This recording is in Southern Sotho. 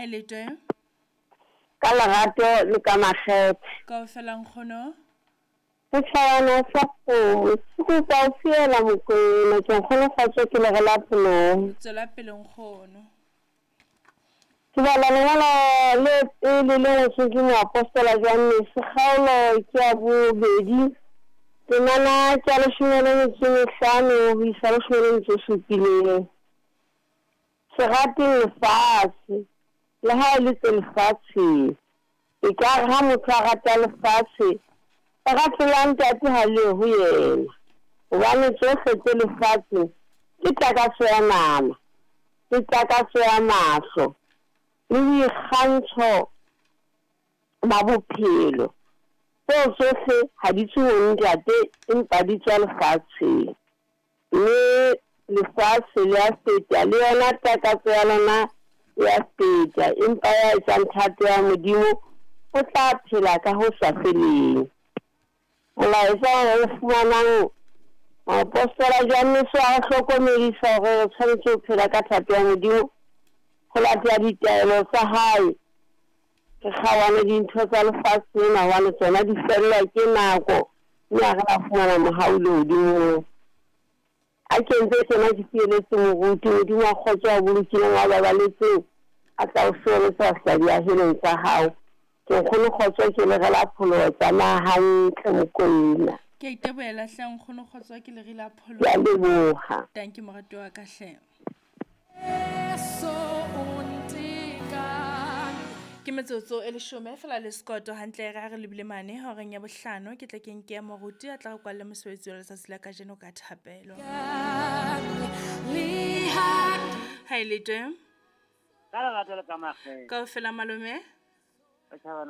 Ha e le teng. Ka lerato le ka makgethe. Kaofela nkgono. Setjhabana sa kgomo se kopa ho fiela Mokoena ke nkgono kgotso ke lere la pholoho. Tswela pele nkgono. Ke bala lengolo le pele le ngotsweng ke moapostola Johannes kgaolo ke ya bobedi temana ke ya leshome le metso e mehlano ho isa leshome le metso e supileng. Se rateng lefatshe le ha e le tse lefatsheng. Ekare ha motho a rata lefatshe, lerato la Ntate ha le ho yena. Hobane tsohle tse lefatsheng ke takatso ya nama, le takatso ya mahlo, le boikgantsho ba bophelo. Tseo tsohle ha di tswe ho Ntate, empa di tswa lefatsheng. Mme lefatshe le a feta, le yona takatso ya lona e a feta, empa ya etsang thato ya Modimo o tla phela ka ho sa feleng. Molaetsa o fumanang moapostola Johannes wa re hlokomedisa hore re tshwanetse ho phela ka thato ya Modimo, ho latela ditaelo tsa hae. Re kgaohane dintho tsa lefatshe lena hobane tsona di fellwa ke nako, mme ha re la fumana mohau lehodimong. A ke ntse tjena ke fieletse moruti, Modimo wa kgotso a bolokileng wa babaletseng a tla o sebeletsa ho fihla diahelong tsa hao. Ke nkgono kgotso ke lere la pholoho tsamaya hantle Mokoena. Ke a itebohela hle nkgono kgotso ke lere la pholoho. Ke a leboha. Thank you moratuwa wa ka hle. Ke metsotso e leshome fela le sekoto hantle re a re lebile mane horeng ya bohlano ke tle ke nke ya moruti a tla re kwalle mosebetsi wa letsatsi la kajeno ka thapelo. Ha e le teng. Ka lerato le ka makgethe. Kaofela malome.